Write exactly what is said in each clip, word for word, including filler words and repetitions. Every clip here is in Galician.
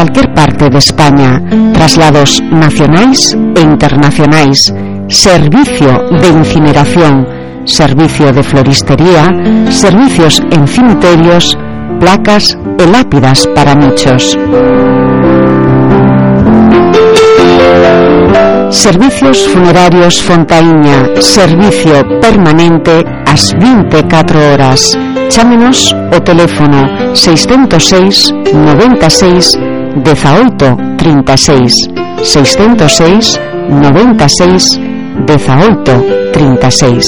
calquer parte de España, traslados nacionais e internacionais, servicio de incineración, servicio de floristería, servicios en cimiterios, placas e lápidas para nichos. Servicios funerarios Fontaíña, servicio permanente ás vinte e catro horas. Chámenos o teléfono seiscentos seis, noventa e seis, dezaoito, trinta e seis, seiscentos seis, noventa e seis, dezaoito, trinta e seis.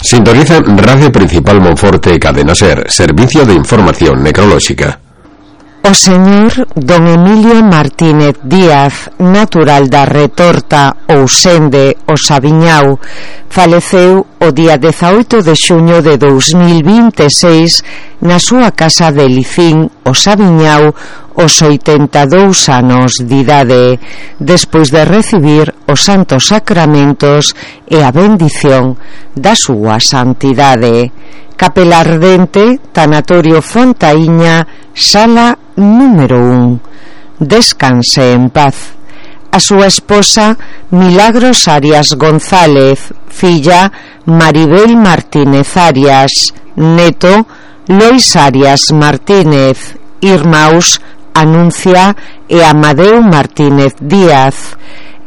Sintoniza Radio Principal Monforte Cadena Ser, servicio de información necrolóxica. O señor don Emilio Martínez Díaz, natural da Retorta ou Sende, o Sabiñao, faleceu o día dezaoito de xuño de dous mil vinte e seis na súa casa de Licín, o Sabiñao, os oitenta e dous anos de idade, despois de recibir os santos sacramentos e a bendición da súa santidade. Capela Ardente, Tanatorio Fontaíña, sala número un. Descanse en paz. A súa esposa Milagros Arias González, filla Maribel Martínez Arias, neto Lois Arias Martínez, irmáns Anuncia e Amadeu Martínez Díaz,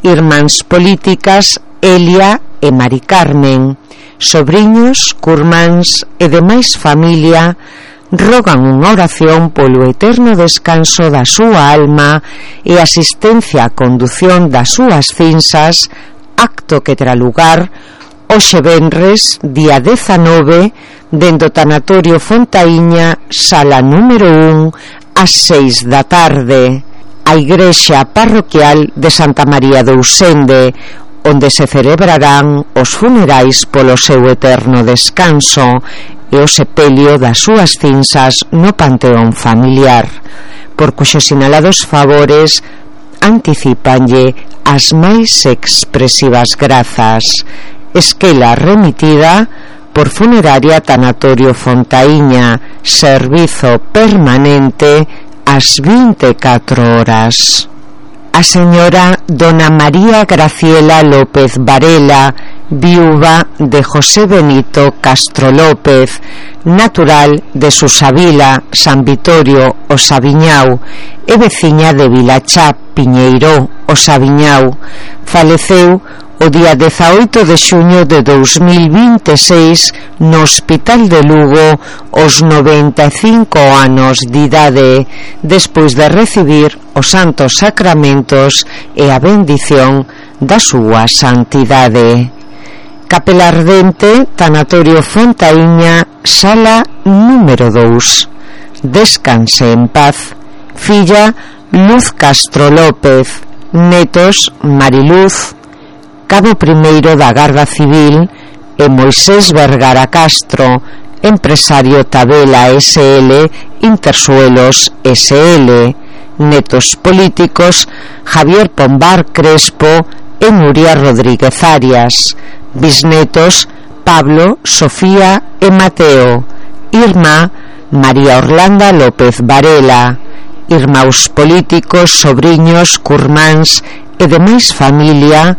irmáns políticas Elia e Mari Carmen, sobriños, curmáns e demais familia rogan unha oración polo eterno descanso da súa alma e asistencia a condución das súas cinzas, acto que terá lugar hoxe venres, día dezanove, dende o Tanatorio Fontaíña, sala número un, ás seis da tarde, a igrexa parroquial de Santa María de Usende, onde se celebrarán os funerais polo seu eterno descanso e o sepelio das súas cinzas no panteón familiar, por cuxos sinalados favores anticipanlle as máis expresivas grazas. Esquela remitida por Funeraria Tanatorio Fontaíña, servizo permanente ás vinte e catro horas. A señora dona María Graciela López Varela, viúva de José Benito Castro López, natural de Susavila, San Vitorio, o Sabiñao, e veciña de Vilachá, Piñeiró, o Sabiñao, faleceu o día dezaoito de xuño de dous mil vinte e seis no Hospital de Lugo aos noventa e cinco anos de idade, despois de recibir os santos sacramentos e a bendición da súa santidade. Capela Ardente, Tanatorio Fontaíña, sala número dous. Descanse en paz. Filla Luz Castro López, netos Mariluz, cabo primeiro da Garda Civil, e Moisés Vergara Castro, empresario Tabela S L, Intersuelos S L, netos políticos Javier Pombar Crespo e Nuria Rodríguez Arias, bisnetos Pablo, Sofía e Mateo, irmá María Orlanda López Varela, irmáns políticos, sobriños, curmáns e demais familia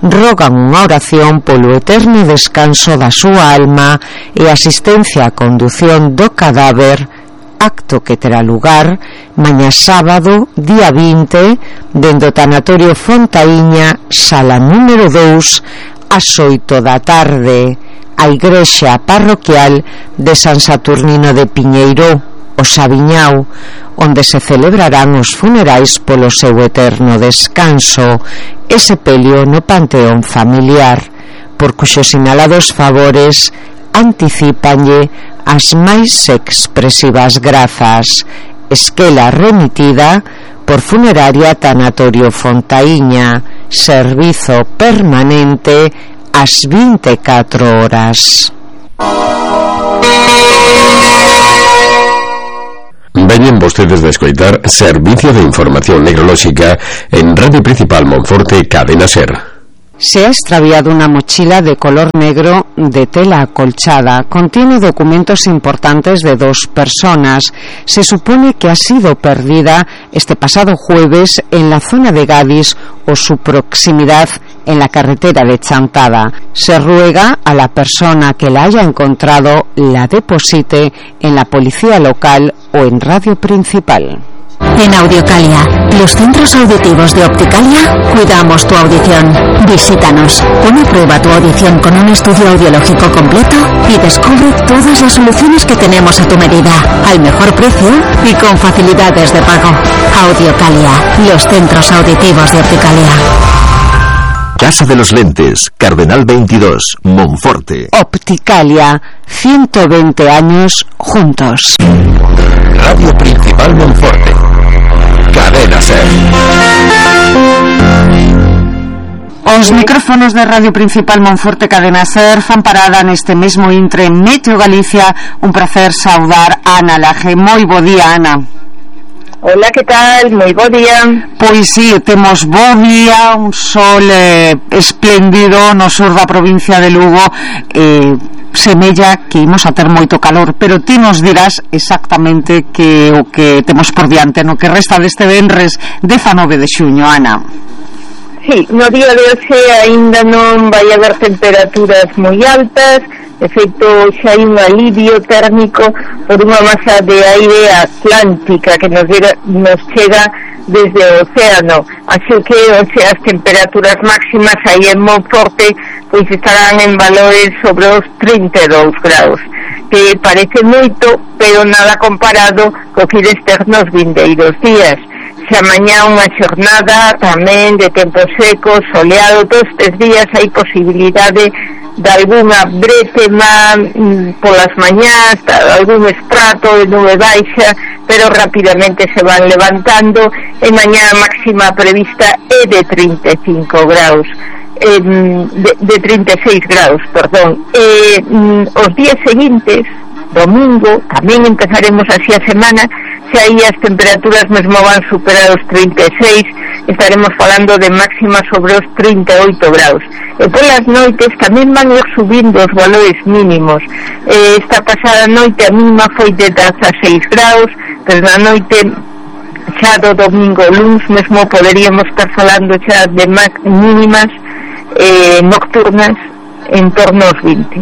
rogan unha oración polo eterno descanso da súa alma e asistencia a condución do cadáver, acto que terá lugar mañá sábado, día vinte, dende o Tanatorio Fontaíña, sala número dous, ás oito da tarde, a igrexa parroquial de San Saturnino de Piñeiró, o Sabiñao, onde se celebrarán os funerais polo seu eterno descanso e sepelio no panteón familiar, por cuxos sinalados favores anticipanlle as máis expresivas grazas. Esquela remitida por Funeraria Tanatorio Fontaíña, servizo permanente ás vinte e catro horas. Veñen vostedes de escoitar Servicio de Información Necrolóxica en Radio Principal Monforte Cadena Ser. Se ha extraviado una mochila de color negro de tela acolchada. Contiene documentos importantes de dos personas. Se supone que ha sido perdida este pasado jueves en la zona de Gadis o su proximidad en la carretera de Chantada. Se ruega a la persona que la haya encontrado la deposite en la policía local o en Radio Principal. En Audiocalia, los centros auditivos de Opticalia, cuidamos tu audición. Visítanos, pon a prueba tu audición con un estudio audiológico completo y descubre todas las soluciones que tenemos a tu medida, al mejor precio y con facilidades de pago. Audiocalia, los centros auditivos de Opticalia. Casa de los Lentes, Cardenal veintidós, Monforte. Opticalia, ciento veinte años juntos. Radio Principal Monforte. Cadena SER. Os micrófonos de Radio Principal Monforte Cadena SER fan parada neste mesmo intre en Meteo Galicia. Un placer saudar a Ana Laje. Moi bo día, Ana. Hola, que tal? Moi bo día. Pois si, sí, temos bo día, un sol eh, espléndido no sur da provincia de Lugo. eh, semella que imos a ter moito calor, pero ti nos dirás exactamente que o que temos por diante no que resta deste venres dezanove de xuño, Ana. Sí, no día de hoxe aínda non vai haber temperaturas moi altas. De feito, xa hai un alivio térmico por unha masa de aire atlántica que nos, dira, nos chega desde o océano. Así que oxe, as temperaturas máximas aí en Monforte pois estarán en valores sobre os trinta e dous graus, que parece moito, pero nada comparado co que ides ter nos vindeiros días. Se amañá unha xornada tamén de tempo seco, soleado, todos estes días hai posibilidade de alguna bretema mm, polas mañás, algún estrato de nube baixa, pero rapidamente se van levantando. E mañá a máxima prevista é de trinta e cinco graus, eh, de, de trinta e seis graus, perdón. E mm, os días seguintes, domingo, tamén empezaremos así a semana, se aí as temperaturas mesmo van superar os trinta e seis, estaremos falando de máxima sobre os trinta e oito graus. E polas noites tamén van ir subindo os valores mínimos. Eh, esta pasada noite a mínima foi de dezaseis graus, pero na noite xa do domingo luns mesmo poderíamos estar falando xa de mínimas eh, nocturnas en torno aos vinte.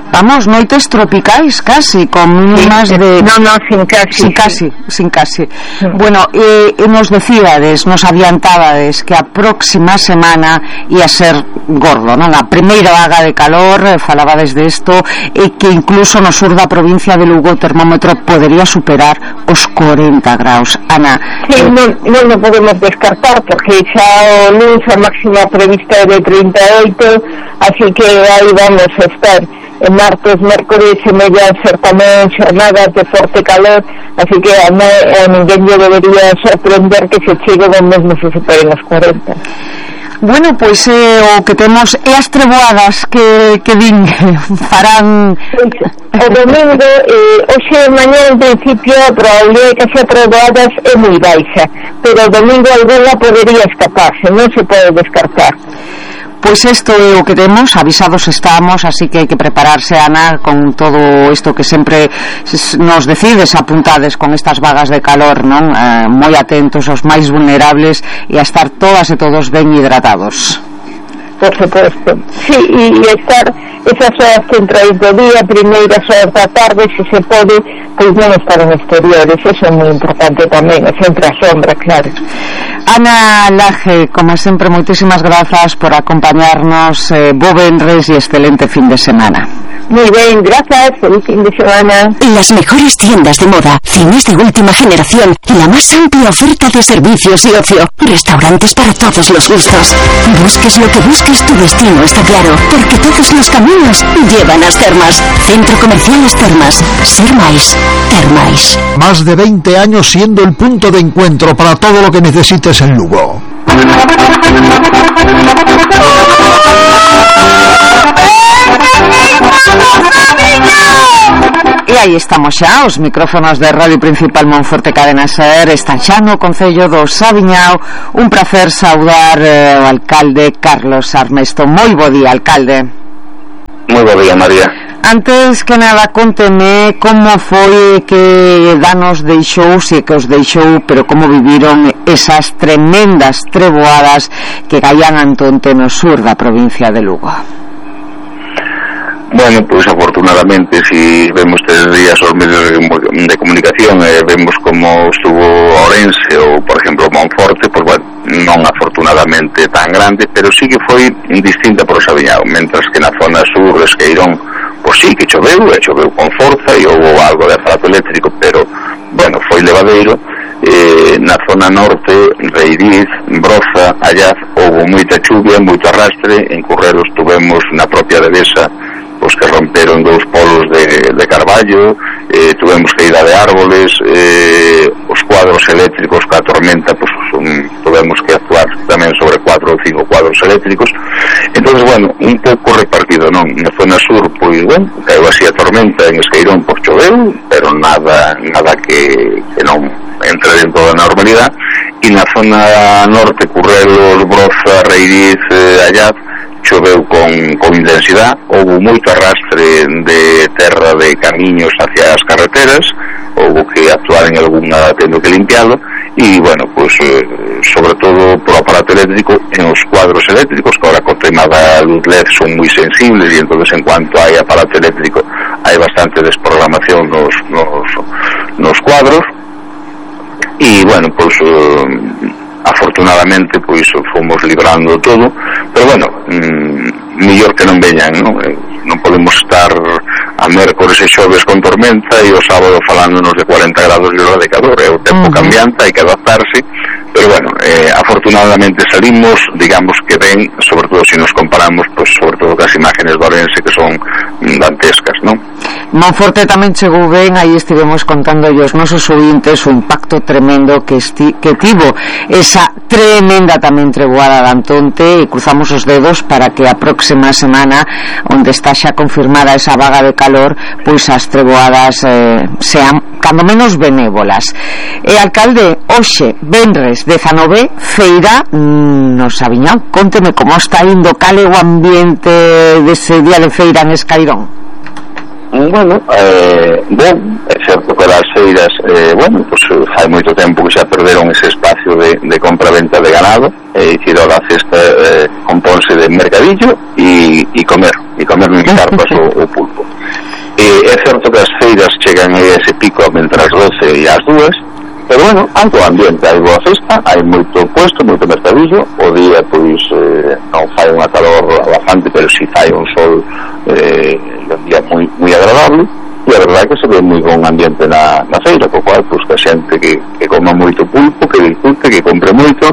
Vamos, noites tropicais casi, con mínimas sí, de... No, no, sin casi. Sin sí. casi, sin casi. Sí. Bueno, eh, nos decíades, nos adiantabades que a próxima semana ia ser gordo, non? A primeira vaga de calor, eh, falabades de isto, e que incluso no sur da provincia de Lugo o termómetro podería superar os corenta graus. Ana... Sí, eh, non, non o podemos descartar, porque xa o luns a máxima prevista é de trinta e oito, así que aí vamos a estar. En martes, mércores semellan ser tamén xornadas de forte calor, así que a, a ninguén lle debería sorprender que se chegue do mesmo se superen os corenta. Bueno, pois eh, o que temos é as treboadas que, que din farán... O domingo, eh, hoxe mañá en principio a probabilidade de que xa treboadas é moi baixa, pero o domingo alguna podería escaparse, non se pode descartar. Pois isto é o que temos, avisados estamos, así que hai que prepararse, Ana, con todo isto que sempre nos decides, apuntades con estas vagas de calor, non? Eh, moi atentos aos máis vulnerables e a estar todas e todos ben hidratados. Por suposto. Sí, e estar esas horas centrais do día, primeiras horas da tarde, se se pode, pois non estar en exteriores, eso é moi importante tamén, é sempre a sombra, claro. Ana Laje, como sempre, moitísimas grazas por acompañarnos, eh, bo venres e excelente fin de semana. Muy bien, gracias, feliz fin de semana. Las mejores tiendas de moda, cines de última generación y la más amplia oferta de servicios y ocio. Restaurantes para todos los gustos. Busques lo que busques, tu destino está claro, porque todos los caminos llevan a las Termas. Centro Comercial Las Termas. Ser máis, ter máis. Más de veinte años siendo el punto de encuentro para todo lo que necesites en Lugo. E aí estamos xa, os micrófonos de Radio Principal Monforte Cadena Ser están xa no Concello do Saviñao. Un placer saudar eh, o alcalde Carlos Armesto. Moi bo día, alcalde. Moi bo día, María. Antes que nada, conteme como foi que danos deixou, se que os deixou, pero como viviron esas tremendas treboadas que caían antonte no sur da provincia de Lugo. Bueno, pois pues, afortunadamente, si vemos estes días os medios de, de comunicación, eh, vemos como estuvo Ourense ou, por exemplo, Monforte, pois, pues, bueno, non afortunadamente tan grande, pero sí que foi distinta por o Saviñao, mentras que na zona sur, Esqueirón, pois pues, sí que choveu, e choveu con forza, e houve algo de aparato eléctrico, pero, bueno, foi levadeiro. Eh, na zona norte, Reiriz, Broza, Allaz, houve moita chuvia, moito arrastre, en Currelos tuvemos na propia devesa pois que romperon dous polos de, de carballo, eh, tuvemos caída de árboles, eh, os cuadros eléctricos que a tormenta, pois un, tuvemos que actuar tamén sobre cuatro ou cinco cuadros eléctricos. Entonces, bueno, un pouco repartido, non? Na zona sur, pois, bueno, caiu así a tormenta, en Esqueirón, pois choveu, pero nada nada que, que non entre dentro da normalidade, e na zona norte, Currelos, Broza, Reiriz, eh, Allaz, choveu con, con intensidade, houve moito arrastre de terra de camiños hacia as carreteras, houve que actuar en algunha tendo que limpialo, e, bueno, pues, eh, sobre todo por aparato eléctrico, en os cuadros eléctricos, que ahora con tema da luz L E D son moi sensibles, e entonces en cuanto hai aparato eléctrico hai bastante desprogramación nos, nos, nos cuadros, e, bueno, pues... Eh, afortunadamente pois fomos librando todo, pero bueno, mmm, mellor que non veñan, non? Non podemos estar a mércores e xoves con tormenta e o sábado falándonos de cuarenta grados de hora de calor, é o tempo uh-huh. cambiante, hai que adaptarse, pero bueno, eh, afortunadamente salimos, digamos que ben, sobre todo se nos comparamos, pois sobre todo cas imágenes de Ourense que son dantescas, non? Monforte tamén chegou ben, aí estivemos contando os nosos ouvintes o impacto tremendo que, esti, que tivo esa tremenda tamén treboada de Antonte, e cruzamos os dedos para que a próxima semana, onde está xa confirmada esa vaga de calor, pois as treboadas eh, sean cando menos benévolas. E alcalde, hoxe, venres dezanove, feira no Saviñao. Conteme como está indo, cal é o ambiente dese día de feira en Escairón. Bueno, eh, bon, é certo que as feiras, eh, bueno, pues fai moito tempo que xa perderon ese espacio de, de compra-venta de ganado, e eh, dicir, a cesta eh, compónse de mercadillo e, e comer, e comer en carpas o, o pulpo. Eh, é certo que as feiras chegan a ese pico entre as doce e as dúas, pero bueno, algo ambiente, hai boa festa, hai moito puesto, moito mercadillo, o día, pois, eh, non fai unha calor bastante, pero si fai un sol eh, un día moi, moi agradable, e a verdade é que se ve moi bon ambiente na, na feira, co cual, pois, que a xente que, que coma moito pulpo, que disfrute, que compre moito,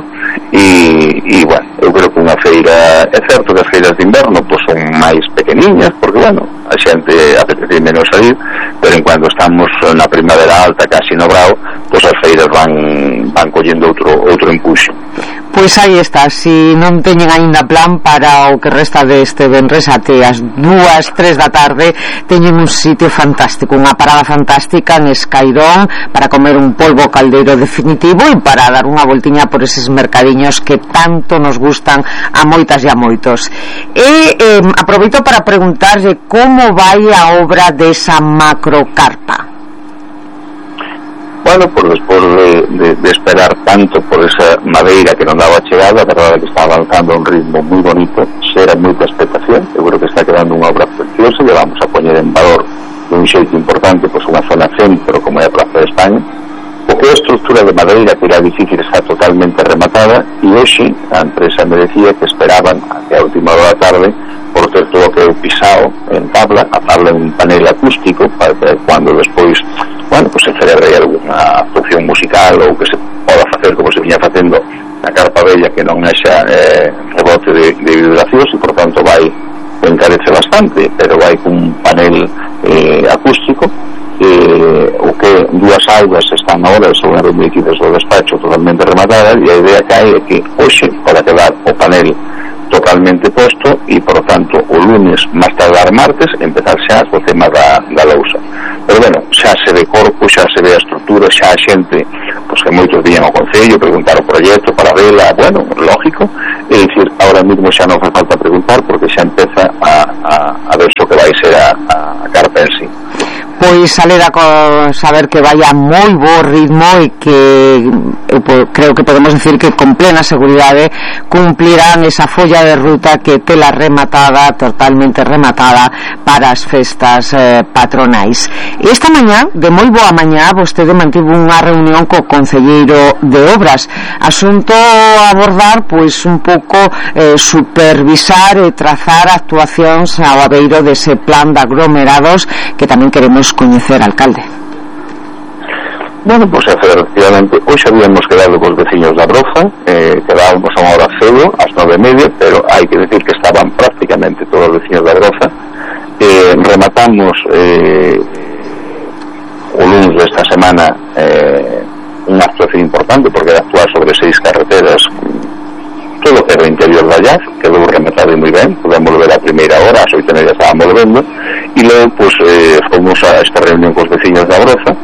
e, e bueno, eu creo que unha feira, é certo que as feiras de inverno, pois, son máis pequeniñas, porque, bueno, a xente apetece menos salir, pero en cuando estamos na primavera alta, casi no brao, pois as feiras van, van collendo outro, outro empuxo. Pois aí está, si non teñen aínda plan para o que resta deste venres até as dúas, tres da tarde, teñen un sitio fantástico, unha parada fantástica en Escairón para comer un polvo caldeiro definitivo e para dar unha voltiña por eses mercadiños que tanto nos gustan a moitas e a moitos. E eh, aproveito para preguntarlle como vai a obra desa macrocarpa. Bueno, por despois de, de, de esperar tanto por esa madeira que non daba chegada, a verdade que está avanzando a un ritmo moi bonito, xera moita expectación, eu creo que está quedando unha obra preciosa, e vamos a poñer en valor de un xeito importante, pois unha zona centro como é a Praza de España, porque a estructura de madeira que era difícil está totalmente rematada, e hoxe a empresa me decía que esperaban até a última hora da tarde por ter todo o que é o pisao en tabla, a tabla en un panel acústico, para que cuando despois, bueno, pues se celebre alguna función musical ou que se poda facer como se viña facendo na carpa bella, que non haxa eh, rebote de, de vibracións, e por tanto vai encarece bastante, pero vai cun panel eh, acústico, eh, o que dúas aulas están ahora, según as reunidas do despacho, totalmente rematadas, e a idea que hai é que hoxe para quedar o panel totalmente posto, e por lo tanto o lunes máis tardar martes empezar xa co tema da, da lousa. pero bueno, xa se ve corpo, xa se ve a estrutura, xa a xente, pois que moitos viñan ao Concello preguntar o proxecto para vela, bueno, lógico, é dicir, ahora mesmo xa non fai falta preguntar porque xa empeza a, a, a ver o que vai ser a, a carta en sí. Pois alegra con saber que vaya moi bo ritmo e que eu creo que podemos decir que con plena seguridade cumplirán esa folla de ruta que tela rematada, totalmente rematada para as festas eh, patronais. E esta mañá, de moi boa mañá, vostede mantivo unha reunión co concelleiro de Obras, asunto a abordar pois un pouco eh, supervisar e trazar actuacións ao abeiro dese plan de aglomerados que tamén queremos coñecer, alcalde. Bueno, pues efectivamente, hoxe habíamos quedado cos veciños da Broza, eh, quedábamos a unha hora cedo, ás nove e media, pero hai que decir que estaban prácticamente todos os veciños da Broza. Eh, rematamos eh, o lunes desta semana eh, unha actuación importante, porque era actuar sobre seis carreteras, todo o que era o interior da Llaz, quedou rematado moi ben, podemos ver a primeira hora, ás oito e media estábamos vendo, e logo, pues, eh, fomos a esta reunión cos veciños da Broza,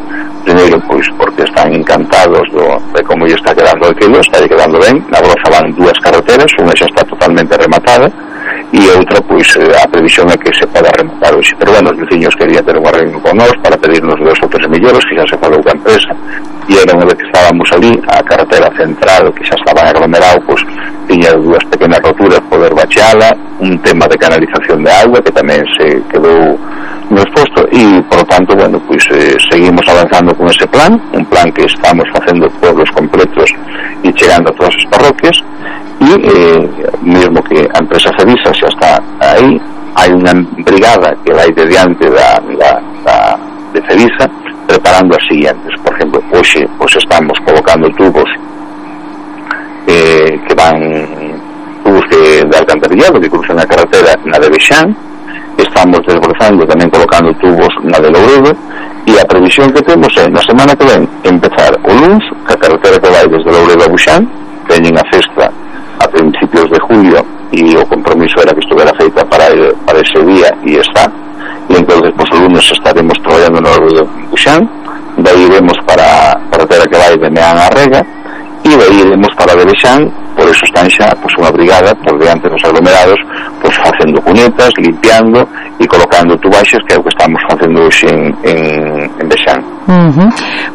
primeiro, pois, porque están encantados do, de como lle está quedando aquilo, está quedando ben, na Broza van dúas carreteras, unha xa está totalmente rematada, e outra, pois, a previsión é que se poda rematar hoxe, pero bueno, os veciños querían ter unha reunión con nós para pedirnos dos ou tres millores, que xa se falou ca empresa, e era unha vez que estábamos ali, a carretera central, que xa estaba aglomerado, pois, tiña dúas pequenas roturas, poder bacheala, un tema de canalización de agua, que tamén se quedou no exposto, e, por tanto, bueno, pois, eh, seguimos avanzando con ese plan, un plan que estamos facendo pueblos completos e chegando a todas as parroquias, e eh, mesmo que a empresa Cedisa xa está aí, hai unha brigada que vai de diante da, da, da de Cedisa preparando as siguientes. Por exemplo, hoxe pues, estamos colocando tubos eh, que van tubos que, de alcantarillado que cruzan a carretera na de Bexán, estamos desbrozando tamén colocando tubos na de Louredo, e a previsión que temos é na semana que ven empezar o luns, que a carretera que vai desde Louredo a Buxán, teñen a festa a principios de julio, e o compromiso era que estuvera feita para, para ese día, e está, e entonces pues, o lunes estaremos traballando no Louredo en Buxán, de aí iremos para a carretera que vai de Meán a Rega, e de aí iremos para Bexán, por eso están xa pues, unha brigada por diante dos aglomerados, pues, facendo cunetas, limpiando e colocando tubaxes, que é o que estamos facendo hoxe en, en, en Bexán. Uh-huh.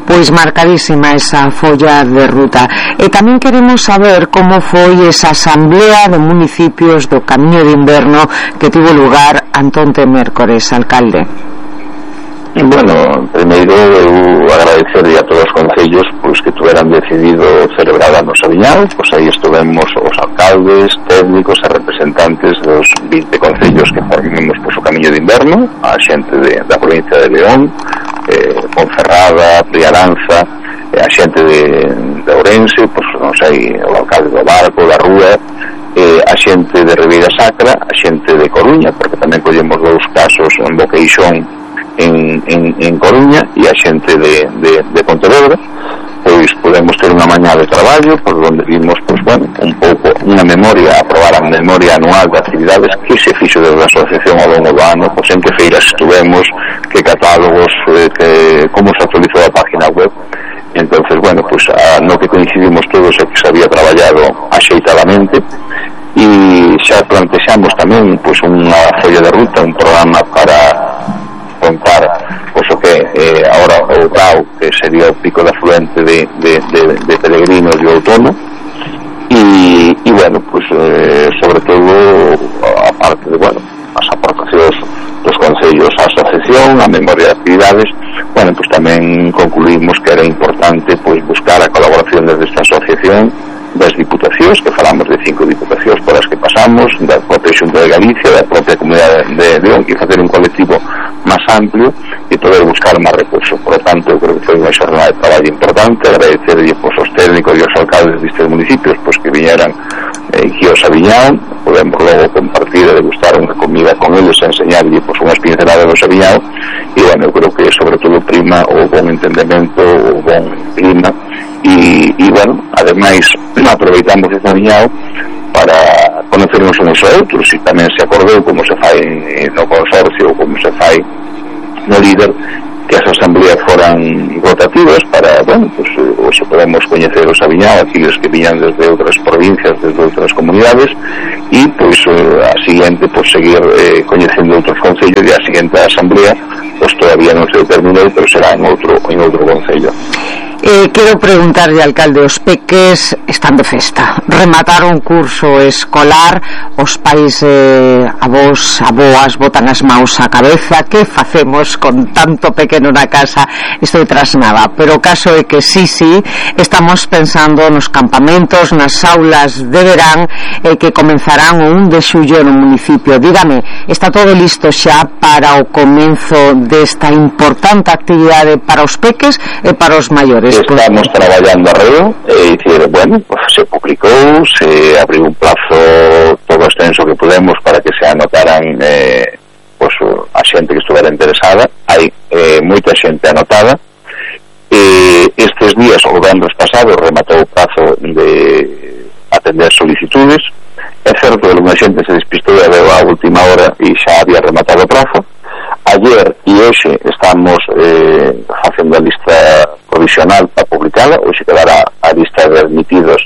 Pois marcadísima esa folla de ruta. E tamén queremos saber como foi esa asamblea de municipios do Camiño de Inverno que tivo lugar antonte mércores, alcalde. Bueno, primeiro eu agradecerle a todos os concellos pois que tuveran decidido celebrar a nosa viñal, pois aí estuvemos os alcaldes, técnicos e representantes dos vinte concellos que formemos pois, o Camiño de Inverno, a xente de, da provincia de León, eh, Ponferrada, Priaranza, eh, a xente de, de Ourense, pois non sei, o alcalde do Barco, da Rúa, eh, a xente de Ribeira Sacra, a xente de Coruña, porque tamén collemos dous casos en Boqueixón En, en, en Coruña, e a xente de, de, de Pontevedra, pois podemos ter unha mañá de traballo por onde vimos, pois, bueno, un pouco unha memoria, aprobar a memoria anual de actividades que se fixo desde a asociación ao longo do ano, pois en que feiras estuvemos, que catálogos, eh, que, como se actualizou a página web. Entonces, bueno, pois a, no que coincidimos todos é que se había traballado axeitadamente, e xa plantexamos tamén pois unha folla de ruta, un programa para contar pois, o que eh, agora o Grau, que sería o pico de afluente de, de, de, de peregrinos de outono, e, e bueno, pues, eh, sobre todo a parte de, bueno, as aportacións dos concellos á asociación, a memoria de actividades, bueno, pues tamén concluímos que era importante pues, buscar a colaboración desde esta asociación das diputacións, que falamos de cinco diputacións por as que pasamos, da propia Xunta de Galicia, da propia Comunidade de León, e facer un colectivo máis amplio e poder buscar máis recursos. Por lo tanto, eu creo que foi unha xornada de traballo importante, agradecerlle pues, os técnicos e os alcaldes destes municipios pues, que viñeran eh, aquí aos Aviñao, podemos logo compartir e degustar unha comida con eles e enseñarlle pues, unhas pinceladas do Aviñao, e bueno, eu creo que sobre todo prima o bon entendemento, o bon clima, e, e bueno, ademais aproveitamos ese Aviñao para conocernos uns a outros, e tamén se acordou como se fai no consorcio, como se fai no líder, que as asambleas foran rotativas para, bueno, pues hoxe podemos coñecer o Sabiñao, aqueles que viñan desde outras provincias, desde outras comunidades, e pois a seguinte, pois seguir eh, coñecendo outros concellos, e a seguinte asamblea pois todavía non se determinou, pero será en outro en outro concello. Eh, quero preguntarlle, alcalde, os peques están de festa, remataron curso escolar, os pais, eh, avós, aboas botan as maus á cabeza, que facemos con tanto pequeno na casa? Estou trasnada, pero o caso é que sí, sí, estamos pensando nos campamentos, nas aulas de verán, eh, que comenzarán o un de xullo no municipio. Dígame, está todo listo xa para o comenzo desta importante actividade para os peques e para os maiores? Estamos traballando arreo, e dicir, bueno, pues se publicou, se abriu un plazo todo extenso que podemos para que se anotaran eh, pues, a xente que estuvera interesada. Hai eh, moita xente anotada. Eh, estes días, o venres pasado, rematou o plazo de atender solicitudes. É certo que alguna xente se despistou e veo a última hora e xa había rematado o plazo. Ayer e hoxe estamos eh, facendo a lista provisional para publicala, hoxe quedará a lista de admitidos,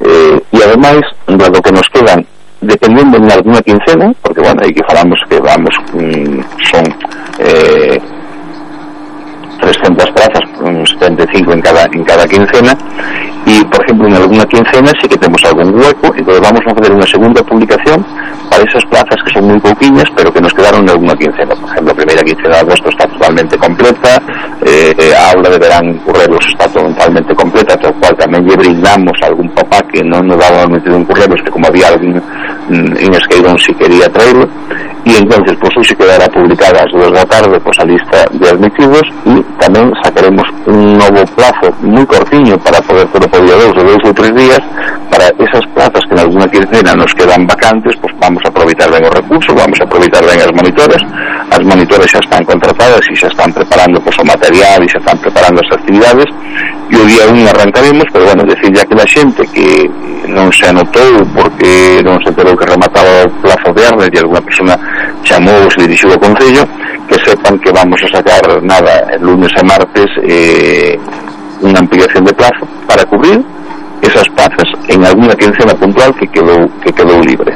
eh, e ademais, dado que nos quedan, dependendo de alguna quincena, porque bueno, aí que falamos que vamos, mm, son eh, trescentas plazas, setenta e cinco en cada en cada quincena, e por exemplo en alguna quincena sí que temos algún hueco, entonces vamos a fazer unha segunda publicación para esas plazas que son moi pouquiñas pero que nos quedaron en alguna quincena. Por exemplo, a primeira quincena de agosto está totalmente completa, eh, a aula de verán Currelos está totalmente completa, tal cual tamén lle brindamos a algún papá que non nos daba metido en Currelos, que como había alguén en Esqueirón si quería traerlo, e entonces pois pues, hoxe quedará publicada ás dúas da tarde pois pues, a lista de admitidos, e tamén sacaremos un novo plazo moi cortiño para poder ter o día dos ou dous ou tres días para esas plazas que en alguna quincena nos quedan vacantes, pues vamos a aproveitar ben os recursos, vamos a aproveitar ben as monitoras. As monitoras xa están contratadas e xa están preparando pues, o material e xa están preparando as actividades, e o día un arrancaremos, pero bueno, decir ya que la xente que non se anotou porque non se enterou que remataba o plazo de Arnes e alguna persona chamou ou se dirixiu ao Concello, que sepan que vamos a sacar nada el lunes e martes eh, unha ampliación de plazo para cubrir esas plazas en alguna quincena puntual que quedou que quedou libre.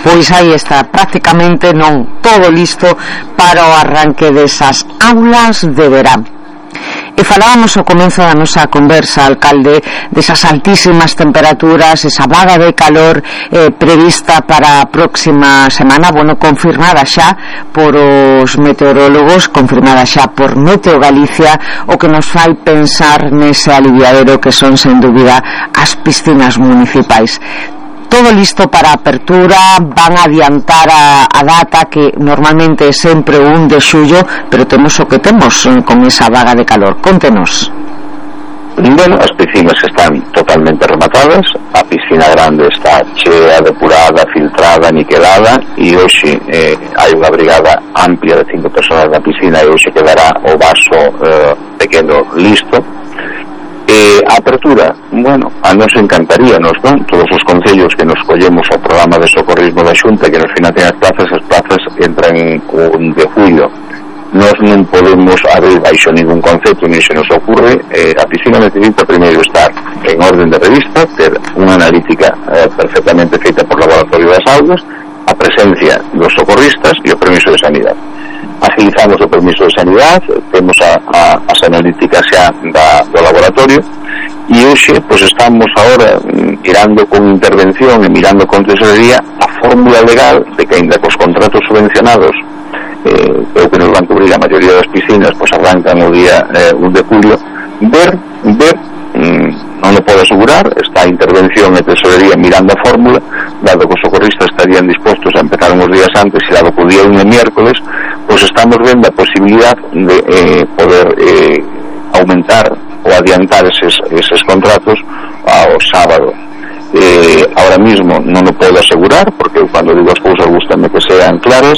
Pois aí está, prácticamente non todo listo para o arranque desas aulas de verán. E falábamos ao comezo da nosa conversa, alcalde, desas altísimas temperaturas, esa vaga de calor eh, prevista para a próxima semana, bueno, confirmada xa por os meteorólogos, confirmada xa por Meteo Galicia, o que nos fai pensar nese aliviadero que son, sen dúbida, as piscinas municipais. Todo listo para a apertura, van a adiantar a, a data que normalmente é sempre o un de xullo, pero temos o que temos con esa vaga de calor. Contenos. Bueno, as piscinas están totalmente rematadas, a piscina grande está chea, depurada, filtrada, niquelada, e hoxe eh, hai unha brigada amplia de cinco personas na piscina e hoxe quedará o vaso eh, pequeno listo. Eh, a apertura, bueno, a nos encantaríanos, non? Todos os concellos que nos collemos ao programa de socorrismo da Xunta que nos financian as plazas, as plazas entran un de julio. Nos non podemos abrir baixo ningún concepto, ni se nos ocurre. Eh, a piscina necesita primeiro estar en orden de revista, ter unha analítica eh, perfectamente feita por laboratorio das aulas, a presencia dos socorristas e o permiso de sanidade. Agilizamos o permiso de sanidade, temos a, a, as analíticas xa da, do laboratorio, e hoxe pois estamos agora mirando con intervención e mirando con tesorería a fórmula legal de que ainda cos contratos subvencionados eh, o que nos van cubrir a maioría das piscinas pois arrancan o día eh, un de julio, ver, ver mm, non o podo asegurar, está a intervención e tesorería mirando a fórmula, dado que os socorristas estarían dispostos a empezar uns días antes e dado que o día un é miércoles, pois estamos vendo a posibilidad de eh, poder eh, aumentar ou adiantar eses, eses contratos ao sábado. Eh, ahora mismo non o podo asegurar porque cando digo as cousas gustame que sean claras,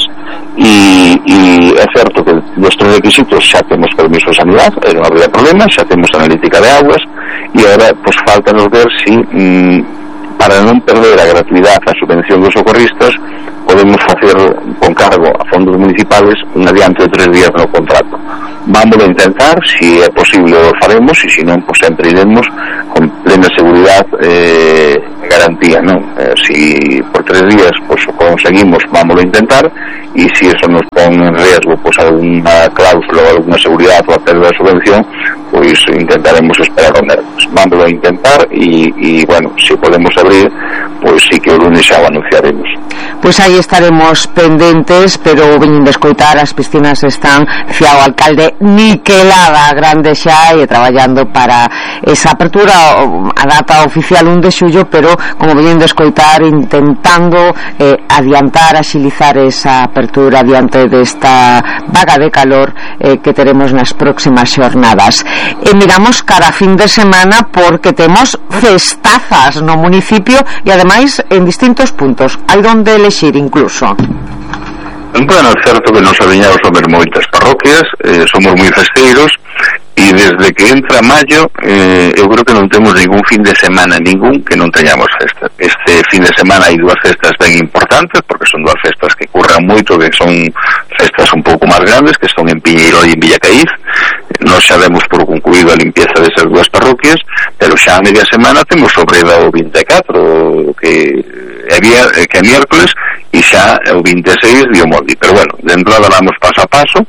e, e é certo que nuestros requisitos xa temos permiso de sanidade, non habría problema, xa temos analítica de aguas, e agora pues, falta nos ver si mm, para non perder a gratuidade a subvención dos socorristas podemos facer con cargo a fondos municipales un adianto de tres días no contrato. Vamos a intentar, si é posible o faremos, e se non, pues sempre iremos con plena seguridad e eh, garantía, non? Eh, si por tres días pues conseguimos, vamos a intentar, e si eso nos pon en riesgo pues alguna cláusula ou alguna seguridad ou a pérdida de subvención, pues intentaremos esperar o nervios. Vamos a intentar e, e bueno, si podemos abrir, pues sí que o lunes xa o anunciaremos. Pois aí estaremos pendentes, pero veñen de escoitar, as piscinas están fiao alcalde niquelada, grande xa, e traballando para esa apertura, a data oficial un de xullo, pero como veñen de escoitar, intentando eh, adiantar, axilizar esa apertura diante desta vaga de calor eh, que teremos nas próximas xornadas. E miramos cara a fin de semana porque temos festazas no municipio e ademais en distintos puntos, hai donde elexir incluso. Bueno, é certo que nos adiñamos a ver moitas parroquias, eh, somos moi festeiros, e desde que entra maio eh, eu creo que non temos ningún fin de semana ningún que non teñamos festas. Este fin de semana hai dúas festas ben importantes, porque son dúas festas que curran moito, que son festas un pouco máis grandes, que son en Piñeiro e en Villacaíz. Nós xa demos por concluído a limpieza desas dúas parroquias, pero xa a media semana temos sobre o vinte e catro, que é vía, que é miércoles, e xa o vinte e seis de Omoldi. Pero bueno, de entrada vamos paso a paso,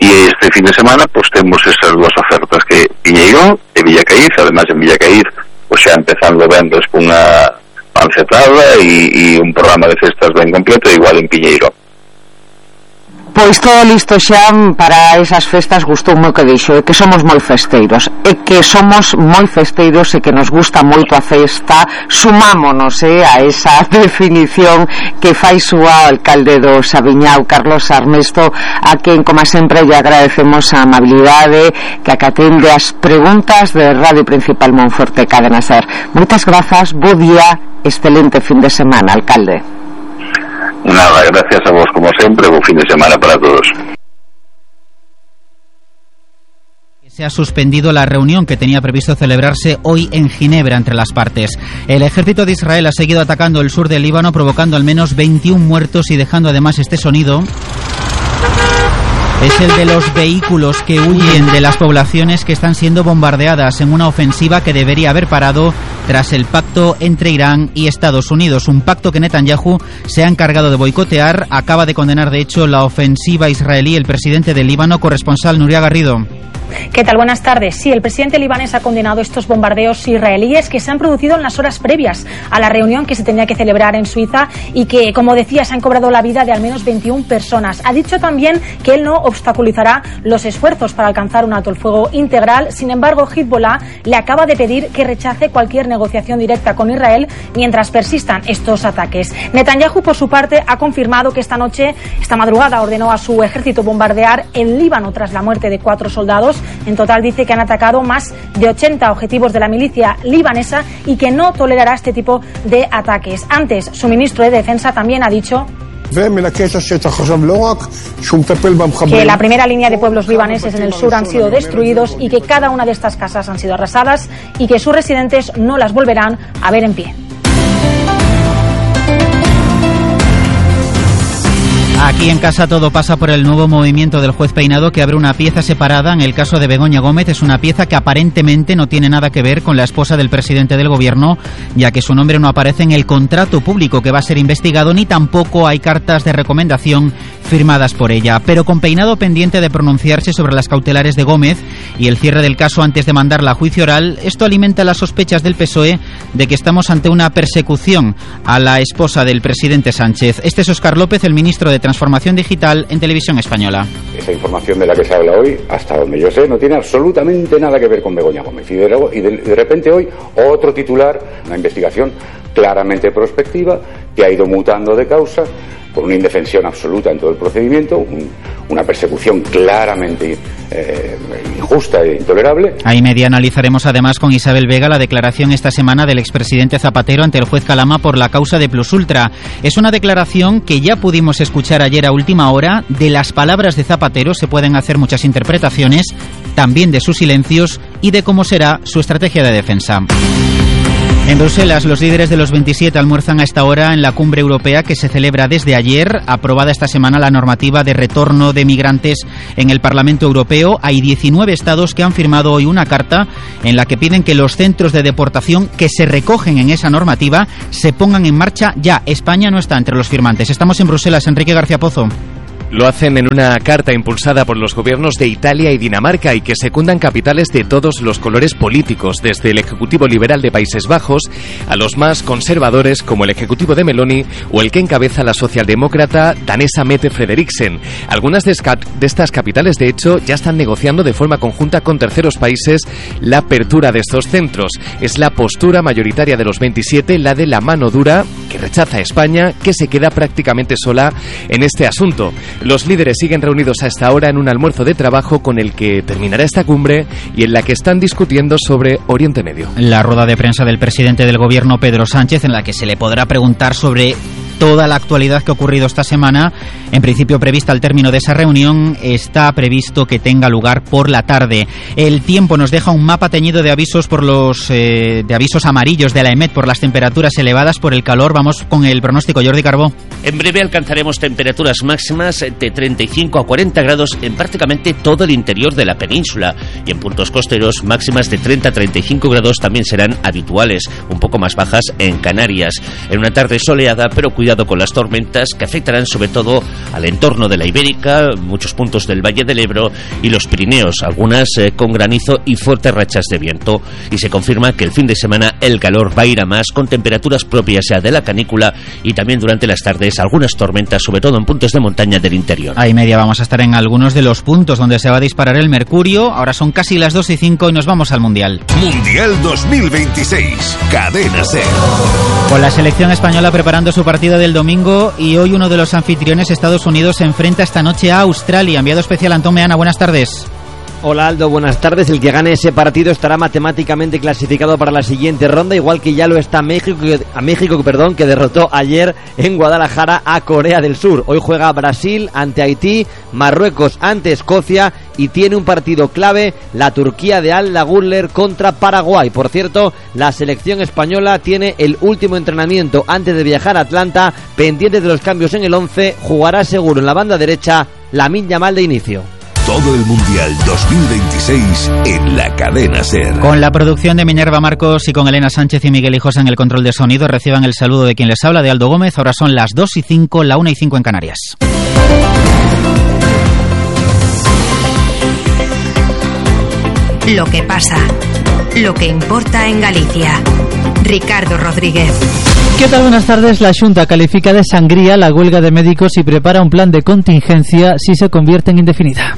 e este fin de semana pues temos esas dúas ofertas, que Piñeiro e Villacaíz. Además en Villacaíz pues xa empezando vendes cunha pancetada e, e un programa de festas ben completo, igual en Piñeiro. Pois todo listo xa para esas festas. Gustoume o que dixo, é que somos moi festeiros, é que somos moi festeiros e que nos gusta moito a festa. Sumámonos eh, a esa definición que fai súa o alcalde do Saviñao, Carlos Armesto, a quen, como sempre, lle agradecemos a amabilidade que acatende as preguntas de Radio Principal Monforte Cadena Ser. Moitas grazas, bo día, excelente fin de semana, alcalde. Nada, gracias a vos como siempre, buen fin de semana para todos. Se ha suspendido la reunión que tenía previsto celebrarse hoy en Ginebra entre las partes. El ejército de Israel ha seguido atacando el sur del Líbano, provocando al menos veintiún muertos y dejando además este sonido. Es el de los vehículos que huyen de las poblaciones que están siendo bombardeadas en una ofensiva que debería haber parado tras el pacto entre Irán y Estados Unidos. Un pacto que Netanyahu se ha encargado de boicotear. Acaba de condenar, de hecho, la ofensiva israelí el presidente del Líbano, corresponsal Nuria Garrido. ¿Qué tal? Buenas tardes. Sí, el presidente libanés ha condenado estos bombardeos israelíes que se han producido en las horas previas a la reunión que se tenía que celebrar en Suiza y que, como decía, se han cobrado la vida de al menos veintiún personas. Ha dicho también que él no obstaculizará los esfuerzos para alcanzar un alto el fuego integral. Sin embargo, Hezbollah le acaba de pedir que rechace cualquier negociación directa con Israel mientras persistan estos ataques. Netanyahu, por su parte, ha confirmado que esta noche, esta madrugada, ordenó a su ejército bombardear el Líbano tras la muerte de cuatro soldados. En total dice que han atacado más de ochenta objetivos de la milicia libanesa y que no tolerará este tipo de ataques. Antes, su ministro de Defensa también ha dicho que la primera línea de pueblos libaneses en el sur han sido destruidos y que cada una de estas casas han sido arrasadas y que sus residentes no las volverán a ver en pie. Aquí en casa todo pasa por el nuevo movimiento del juez Peinado, que abre una pieza separada en el caso de Begoña Gómez. Es una pieza que aparentemente no tiene nada que ver con la esposa del presidente del gobierno, ya que su nombre no aparece en el contrato público que va a ser investigado, ni tampoco hay cartas de recomendación firmadas por ella. Pero con Peinado pendiente de pronunciarse sobre las cautelares de Gómez y el cierre del caso antes de mandarla a juicio oral, esto alimenta las sospechas del P S O E de que estamos ante una persecución a la esposa del presidente Sánchez. Este es Óscar López, el ministro de Transformación Digital en Televisión Española. Esa información de la que se habla hoy, hasta donde yo sé, no tiene absolutamente nada que ver con Begoña Gómez. Y de, y de, de repente hoy, otro titular, una investigación claramente prospectiva, que ha ido mutando de causa, por una indefensión absoluta en todo el procedimiento, un, una persecución claramente eh, injusta e intolerable. Ahí media analizaremos además con Isabel Vega la declaración esta semana del expresidente Zapatero ante el juez Calama por la causa de Plus Ultra. Es una declaración que ya pudimos escuchar ayer a última hora. De las palabras de Zapatero se pueden hacer muchas interpretaciones, también de sus silencios y de cómo será su estrategia de defensa. En Bruselas, los líderes de los veintisiete almuerzan a esta hora en la cumbre europea que se celebra desde ayer. Aprobada esta semana la normativa de retorno de migrantes en el Parlamento Europeo. Hay diecinueve estados que han firmado hoy una carta en la que piden que los centros de deportación que se recogen en esa normativa se pongan en marcha ya. España no está entre los firmantes. Estamos en Bruselas. Enrique García Pozo. Lo hacen en una carta impulsada por los gobiernos de Italia y Dinamarca y que secundan capitales de todos los colores políticos, desde el Ejecutivo Liberal de Países Bajos a los más conservadores como el Ejecutivo de Meloni o el que encabeza la socialdemócrata danesa Mette Frederiksen. Algunas de, de estas capitales, de hecho, ya están negociando de forma conjunta con terceros países la apertura de estos centros. Es la postura mayoritaria de los veintisiete, la de la mano dura, que rechaza a España, que se queda prácticamente sola en este asunto. Los líderes siguen reunidos a esta hora en un almuerzo de trabajo con el que terminará esta cumbre y en la que están discutiendo sobre Oriente Medio. La rueda de prensa del presidente del gobierno, Pedro Sánchez, en la que se le podrá preguntar sobre toda la actualidad que ha ocurrido esta semana. En principio prevista al término de esa reunión, está previsto que tenga lugar por la tarde. El tiempo nos deja un mapa teñido de avisos por los eh, de avisos amarillos de la EMET por las temperaturas elevadas por el calor. Vamos con el pronóstico, Jordi Carbó. En breve alcanzaremos temperaturas máximas de treinta y cinco a cuarenta grados en prácticamente todo el interior de la península, y en puntos costeros máximas de treinta a treinta y cinco grados también serán habituales, un poco más bajas en Canarias. En una tarde soleada, pero cuidado con las tormentas que afectarán sobre todo al entorno de la Ibérica, muchos puntos del Valle del Ebro y los Pirineos, algunas eh, con granizo y fuertes rachas de viento. Y se confirma que el fin de semana el calor va a ir a más, con temperaturas propias ya de la canícula, y también durante las tardes algunas tormentas, sobre todo en puntos de montaña del interior. A y media vamos a estar en algunos de los puntos donde se va a disparar el mercurio. Ahora son casi las dos y cinco y nos vamos al Mundial. Mundial dos mil veintiséis, Cadena SER. Con la selección española preparando su partido del domingo, y hoy uno de los anfitriones, Estados Unidos, se enfrenta esta noche a Australia. Enviado especial Antón Meana, buenas tardes. Hola Aldo, buenas tardes. El que gane ese partido estará matemáticamente clasificado para la siguiente ronda, igual que ya lo está México, a México, perdón, que derrotó ayer en Guadalajara a Corea del Sur. Hoy juega Brasil ante Haití, Marruecos ante Escocia, y tiene un partido clave la Turquía de Al Laguller contra Paraguay. Por cierto, la selección española tiene el último entrenamiento antes de viajar a Atlanta, pendiente de los cambios en el once. Jugará seguro en la banda derecha Lamine Yamal de inicio. Todo el Mundial dos mil veintiséis en la Cadena SER. Con la producción de Minerva Marcos y con Elena Sánchez y Miguel Hijosa en el control de sonido, reciban el saludo de quien les habla, de Aldo Gómez. Ahora son las dos y cinco, la una y cinco en Canarias. Lo que pasa, lo que importa en Galicia. Ricardo Rodríguez. ¿Qué tal? Buenas tardes. La Xunta califica de sangría la huelga de médicos y prepara un plan de contingencia si se convierte en indefinida.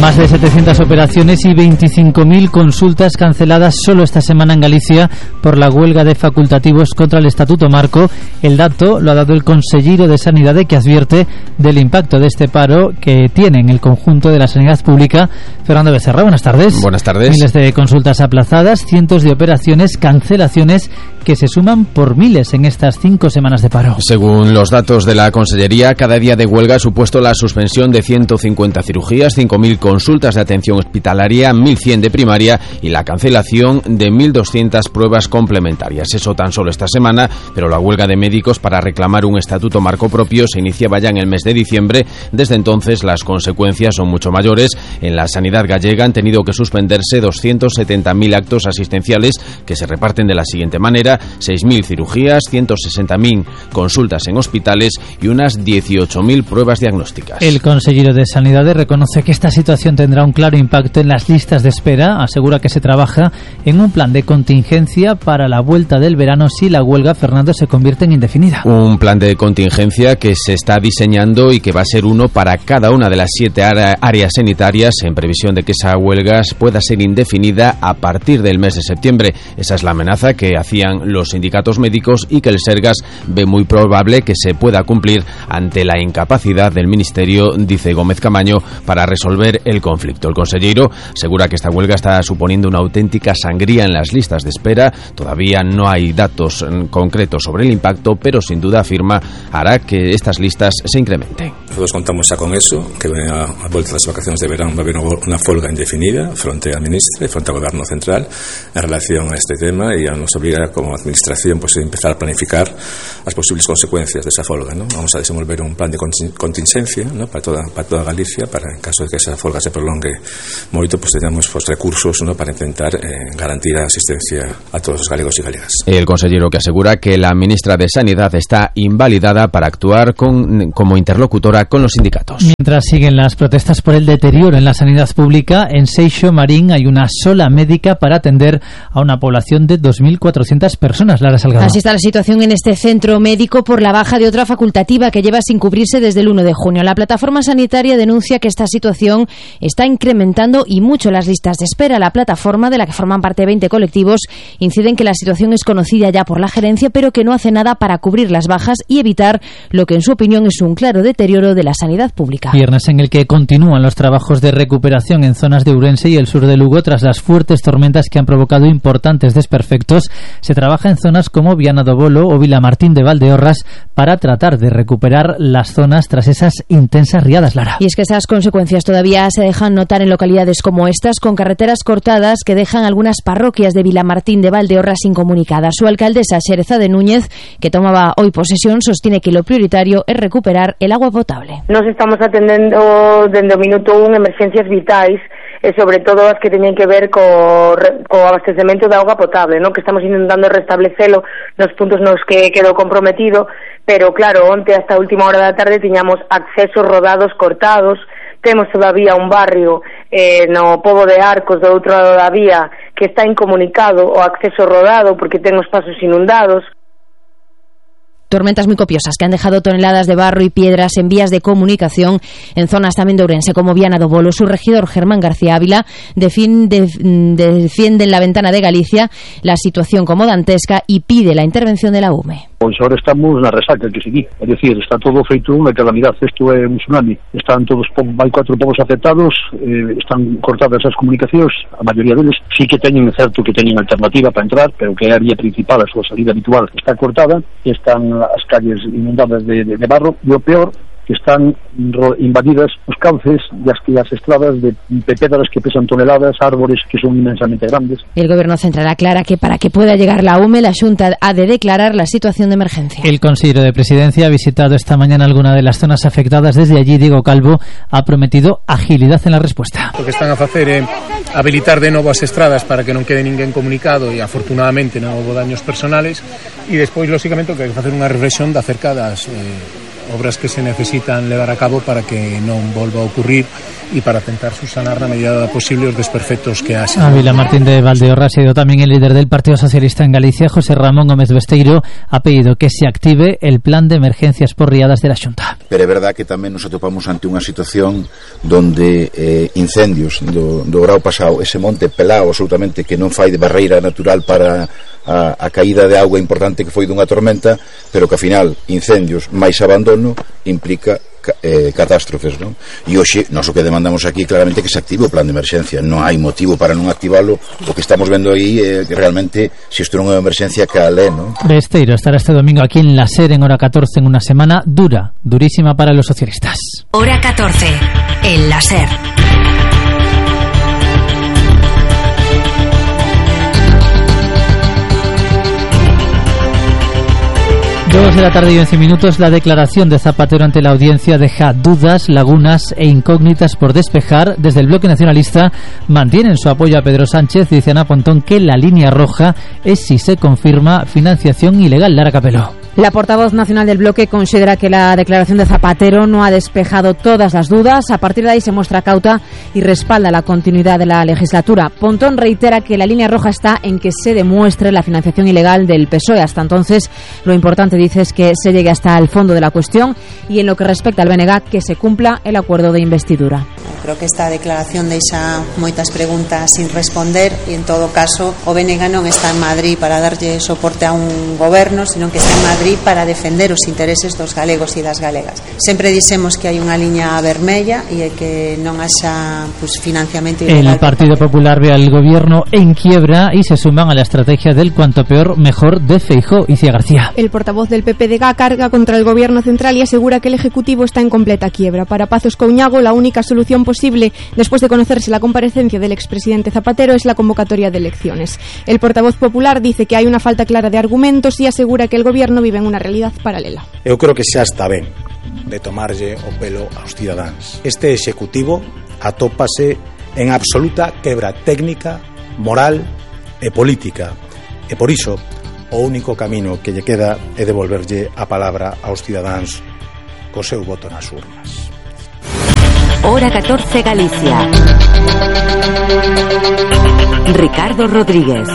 Más de setecientas operaciones y veinticinco mil consultas canceladas solo esta semana en Galicia por la huelga de facultativos contra el Estatuto Marco. El dato lo ha dado el consellero de Sanidade, que advierte del impacto de este paro que tiene en el conjunto de la sanidad pública. Fernando Becerra, buenas tardes. Buenas tardes. Miles de consultas aplazadas, cientos de operaciones, cancelaciones que se suman por miles en estas cinco semanas de paro. Según los datos de la Consellería, cada día de huelga ha supuesto la suspensión de ciento cincuenta cirugías, cinco mil consultas de atención hospitalaria, mil cien de primaria y la cancelación de mil doscientas pruebas complementarias. Eso tan solo esta semana, pero la huelga de médicos para reclamar un estatuto marco propio se iniciaba ya en el mes de diciembre. Desde entonces las consecuencias son mucho mayores. En la sanidad gallega han tenido que suspenderse doscientos setenta mil actos asistenciales que se reparten de la siguiente manera: seis mil cirugías, ciento sesenta mil consultas en hospitales y unas dieciocho mil pruebas diagnósticas. El consejero de Sanidad reconoce que esta situación tendrá un claro impacto en las listas de espera. Asegura que se trabaja en un plan de contingencia para la vuelta del verano si la huelga, Fernando, se convierte en indefinida. Un plan de contingencia que se está diseñando y que va a ser uno para cada una de las siete áreas sanitarias, en previsión de que esa huelga pueda ser indefinida a partir del mes de septiembre. Esa es la amenaza que hacían los sindicatos médicos y que el Sergas ve muy probable que se pueda cumplir ante la incapacidad del Ministerio, dice Gómez Camaño, para resolver el conflicto. El consejero asegura que esta huelga está suponiendo una auténtica sangría en las listas de espera. Todavía no hay datos concretos sobre el impacto, pero sin duda afirma hará que estas listas se incrementen. Nosotros contamos ya con eso, que a, a vuelta de las vacaciones de verano va a haber una folga indefinida frente al ministro y frente al gobierno central en relación a este tema, y nos obliga como administración pues a empezar a planificar las posibles consecuencias de esa folga, ¿no? Vamos a desenvolver un plan de contingencia, ¿no? para toda para toda Galicia, para en caso de que esa folga se prolongue moito, pues tengamos pues, recursos, ¿no? para intentar eh, garantir la asistencia a todos los galegos y galegas. El consejero que asegura que la ministra de Sanidad está invalidada para actuar con, como interlocutora con los sindicatos. Mientras siguen las protestas por el deterioro en la sanidad pública, en Seixo Marín hay una sola médica para atender a una población de dos mil cuatrocientas personas. Lara Salgado. Así está la situación en este centro médico por la baja de otra facultativa que lleva sin cubrirse desde el uno de junio. La plataforma sanitaria denuncia que esta situación está incrementando y mucho las listas de espera. La plataforma, de la que forman parte veinte colectivos, incide en que la situación es conocida ya por la gerencia, pero que no hace nada para cubrir las bajas y evitar lo que en su opinión es un claro deterioro de la sanidad pública. Viernes en el que continúan los trabajos de recuperación en zonas de Ourense y el sur de Lugo tras las fuertes tormentas que han provocado importantes desperfectos. Se trabaja en zonas como Viana do Bolo o Vilamartín de Valdeorras para tratar de recuperar las zonas tras esas intensas riadas, Lara. Y es que esas consecuencias todavía se dejan notar en localidades como estas, con carreteras cortadas que dejan algunas parroquias de Vilamartín de Valdeorras incomunicadas. Su alcaldesa, Xereza de Núñez, que tomaba hoy posesión, sostiene que lo prioritario es recuperar el agua potable. Nos estamos atendendo desde o minuto un emergencias vitais, e sobre todo as que teñen que ver co, co abastecemento de auga potable, ¿no? Que estamos intentando restablecelo nos puntos nos que quedou comprometido, pero claro, onte hasta a última hora da tarde tiñamos accesos rodados cortados. Temos todavía un barrio eh, no Pobo de Arcos do outro lado da vía que está incomunicado o acceso rodado porque ten os pasos inundados. Tormentas muy copiosas que han dejado toneladas de barro y piedras en vías de comunicación en zonas también de Ourense como Viana do Bolo. Su regidor Germán García Ávila defiende, defiende en la ventana de Galicia la situación como dantesca y pide la intervención de la U M E. Pois ahora estamos na resaca que seguí, é dicir, está todo feito unha calamidade, isto é un tsunami, están todos, hai cuatro povos afectados, eh, están cortadas as comunicacións, a maioría deles sí que teñen certo que teñen alternativa para entrar, pero que é a vía principal, a súa salida habitual está cortada, están as calles inundadas de, de, de barro, e o peor que están invadidas os cauces e as, as estradas de pedras que pesan toneladas, árboles que son inmensamente grandes. El Gobierno central aclara que para que pueda llegar la U M E, la Xunta ha de declarar la situación de emergencia. El consejero de Presidencia ha visitado esta mañana alguna de las zonas afectadas. Desde allí, Diego Calvo ha prometido agilidad en la respuesta. Lo que están a facer é habilitar de novo as estradas para que non quede ninguén comunicado e afortunadamente non houve daños personales, e despois, lógicamente, que hai que facer unha reflexión de acerca das eh, obras que se necesitan levar a cabo para que non volva a ocurrir e para tentar subsanar na medida posible os desperfectos que haxe. A Vilamartín de Valdeorras ha ido tamén el líder del Partido Socialista en Galicia, José Ramón Gómez Besteiro, ha pedido que se active el plan de emergencias por riadas de la Xunta. Pero é verdad que tamén nos atopamos ante unha situación donde eh, incendios do, do grau pasado, ese monte pelao absolutamente que non fai de barreira natural para a, a caída de auga importante que foi dunha tormenta, pero que ao final incendios máis abandono implica eh, catástrofes, non? E hoxe nós o que demandamos aquí claramente que se active o plan de emerxencia, non hai motivo para non activalo. O que estamos vendo aí é que realmente se isto non é unha emerxencia cal é, non? Besteiro estará este domingo aquí en la SER en hora catorce, en una semana dura, durísima para los socialistas. Hora catorce, en la SER. Dos de la tarde y once minutos. La declaración de Zapatero ante la audiencia deja dudas, lagunas e incógnitas por despejar. Desde el bloque nacionalista mantienen su apoyo a Pedro Sánchez. Dice Ana Pontón que la línea roja es si se confirma financiación ilegal. Lara Capeló. La portavoz nacional del bloque considera que la declaración de Zapatero no ha despejado todas las dudas. A partir de ahí se muestra cauta y respalda la continuidad de la legislatura. Pontón reitera que la línea roja está en que se demuestre la financiación ilegal del P S O E. Hasta entonces, lo importante, dice, es que se llegue hasta el fondo de la cuestión y, en lo que respecta al B N G, que se cumpla el acuerdo de investidura. creo que esta declaración deixa moitas preguntas sin responder e en todo caso o B N G non está en Madrid para darlle soporte a un goberno, sino que está en Madrid para defender os intereses dos galegos e das galegas. Sempre dixemos que hai unha liña vermella e que non haxa pues, financiamento ilegal. El Partido Popular ve al gobierno en quiebra y se suman a la estrategia del cuanto peor mejor de Feijóo. Icía García. El portavoz del P P D G carga contra el gobierno central y asegura que el Ejecutivo está en completa quiebra. Para Pazos Couñago, la única solución posible, después de conocerse la comparecencia del expresidente Zapatero, es la convocatoria de elecciones. El portavoz popular dice que hay una falta clara de argumentos y asegura que el gobierno vive en una realidad paralela. Eu creo que xa está ben de tomarlle o pelo aos cidadáns. Este Executivo atópase en absoluta quebra técnica, moral e política. E por iso, o único camino que lle queda é devolverlle a palabra aos cidadáns co seu voto nas urnas. Hora catorce Galicia. Ricardo Rodríguez.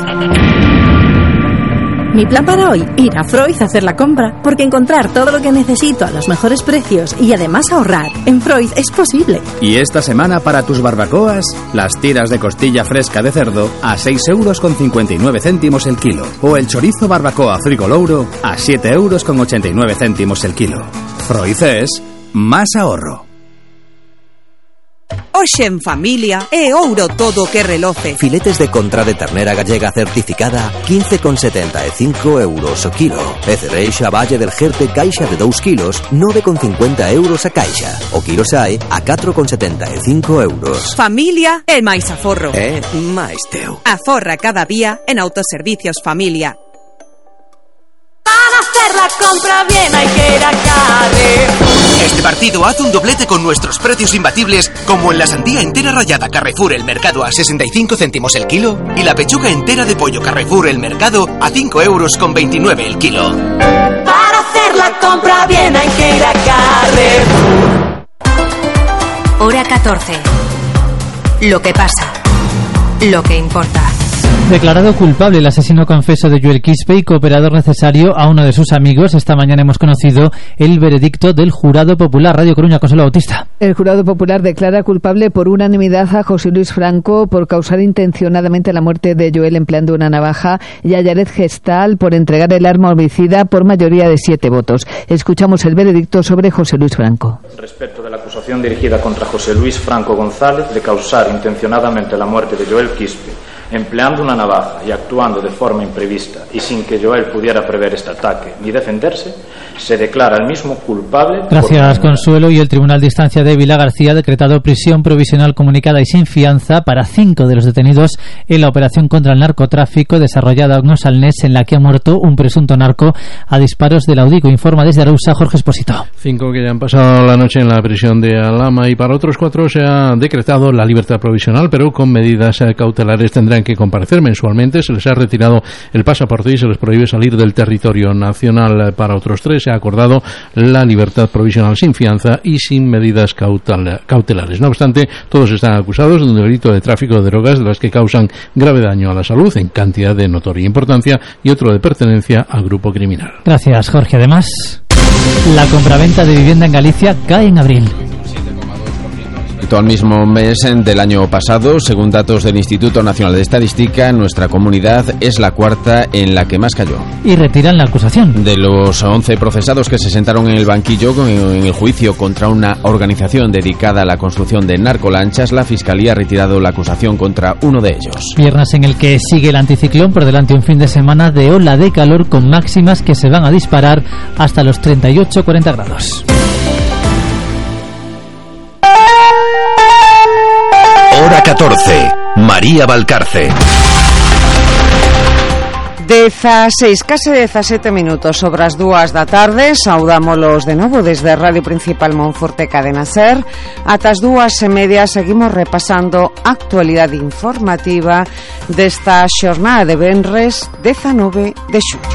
Mi plan para hoy, ir a Freud a hacer la compra, porque encontrar todo lo que necesito a los mejores precios y además ahorrar en Freud es posible. Y esta semana para tus barbacoas, las tiras de costilla fresca de cerdo a seis euros con cincuenta y nueve céntimos el kilo, o el chorizo barbacoa frigolouro a siete euros con ochenta y nueve céntimos el kilo. Freud es más ahorro. Hoxe en familia é ouro todo que reloce. Filetes de contra de ternera gallega certificada quince con setenta e cinco euros o kilo. E cereixa Valle del Jerte caixa de dous kilos nove con cincuenta euros a caixa. O kilo sae a catro con setenta e cinco euros. Familia é máis aforro. É máis teu. Aforra cada día en Autoservicios Familia. Para hacer la compra bien hay que ir a Carrefour. Este partido hace un doblete con nuestros precios imbatibles, como en la sandía entera rallada Carrefour El Mercado a sesenta y cinco céntimos el kilo y la pechuga entera de pollo Carrefour El Mercado a cinco euros con veintinueve el kilo. Para hacer la compra bien hay que ir a Carrefour. Hora catorce. Lo que pasa. Lo que importa. Declarado culpable el asesino confeso de Joel Quispe y cooperador necesario a uno de sus amigos, esta mañana hemos conocido el veredicto del Jurado Popular. Radio Coruña, Consuelo Bautista. El Jurado Popular declara culpable por unanimidad a José Luis Franco por causar intencionadamente la muerte de Joel empleando una navaja y a Yared Gestal por entregar el arma homicida por mayoría de siete votos. Escuchamos el veredicto sobre José Luis Franco. Respecto de la acusación dirigida contra José Luis Franco González de causar intencionadamente la muerte de Joel Quispe empleando una navaja y actuando de forma imprevista y sin que Joel pudiera prever este ataque ni defenderse, se declara el mismo culpable. Gracias, Consuelo. Y el Tribunal de Instancia de Vila García ha decretado prisión provisional comunicada y sin fianza para cinco de los detenidos en la operación contra el narcotráfico desarrollada en Osalnés, en la que ha muerto un presunto narco a disparos del Audico. Informa desde Arousa Jorge Esposito. Cinco que ya han pasado la noche en la prisión de Alhama, y para otros cuatro se ha decretado la libertad provisional, pero con medidas cautelares. Tendrán que comparecer mensualmente, se les ha retirado el pasaporte y se les prohíbe salir del territorio nacional. Para otros tres se ha acordado la libertad provisional sin fianza y sin medidas cautelares. No obstante, todos están acusados de un delito de tráfico de drogas de las que causan grave daño a la salud en cantidad de notoria importancia y otro de pertenencia al grupo criminal. Gracias, Jorge. Además, la compraventa de vivienda en Galicia cae en abril. Al mismo mes del año pasado, según datos del Instituto Nacional de Estadística, nuestra comunidad es la cuarta en la que más cayó. Y retiran la acusación. De los once procesados que se sentaron en el banquillo en el juicio contra una organización dedicada a la construcción de narcolanchas, la Fiscalía ha retirado la acusación contra uno de ellos. Viernes en el que sigue el anticiclón, por delante un fin de semana de ola de calor con máximas que se van a disparar hasta los treinta y ocho a cuarenta grados. Hora catorce. María Valcarce. dezaseis, case dezasete minutos sobre as dúas da tarde. Saudámolos de novo desde Radio Principal Monforte Cadena Ser. Ata as dúas e media seguimos repasando a actualidade informativa desta xornada de venres dezanove de xullo.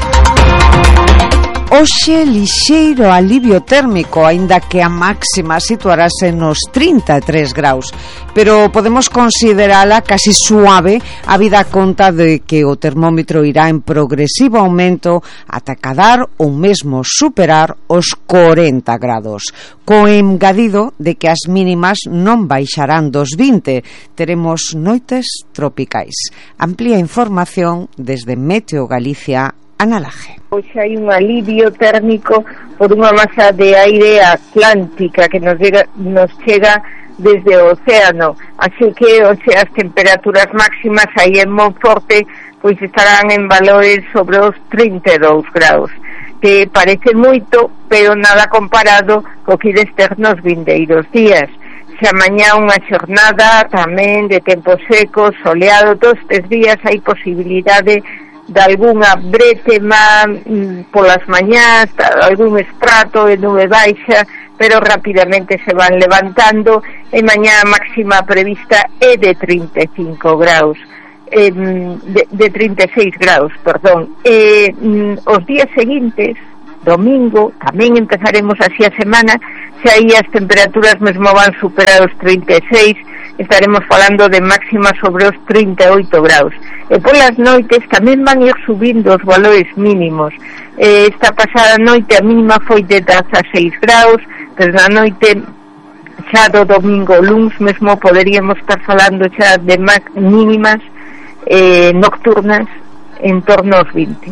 Hoxe lixeiro alivio térmico, aínda que a máxima situarase nos trinta e tres graus, pero podemos considerala casi suave a vida conta de que o termómetro irá en progresivo aumento ata cadar ou mesmo superar os corenta grados, co engadido de que as mínimas non baixarán dos vinte. Teremos noites tropicais. Amplía información desde Meteo Galicia, Ana Laje. Hoxe hai un alivio térmico por unha masa de aire atlántica que nos chega, nos chega desde o océano, así que hoxe as temperaturas máximas aí en Monforte pois estarán en valores sobre os trinta e dous graus, que parece moito, pero nada comparado co que ides ter nos vindeiros días. Xa mañá unha xornada tamén de tempo seco, soleado, todos estes días hai posibilidade de algunha brétema mm, polas mañás, algún estrato de nube baixa, pero rapidamente se van levantando e mañá a máxima prevista é de trinta e cinco graus, eh, de, de trinta e seis graus, perdón. Eh, mm, os días seguintes, domingo, tamén empezaremos así a semana, xa aí as temperaturas mesmo van superar os trinta e seis, estaremos falando de máxima sobre os trinta e oito graus. E polas noites tamén van ir subindo os valores mínimos. Eh, esta pasada noite a mínima foi de dezaseis graus, pero na noite xa do domingo luns mesmo poderíamos estar falando xa de mínimas eh, nocturnas en torno aos vinte.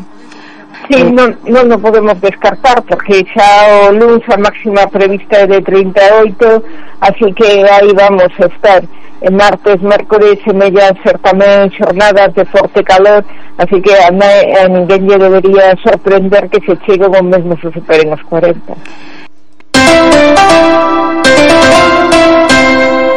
Sí, non, non o podemos descartar porque xa o luns a máxima prevista é de trinta e oito, así que aí vamos a estar. En martes, mércores semellan ser tamén xornadas de forte calor, así que a, a ninguén lle debería sorprender que se chegue o mesmo se superen os cuarenta.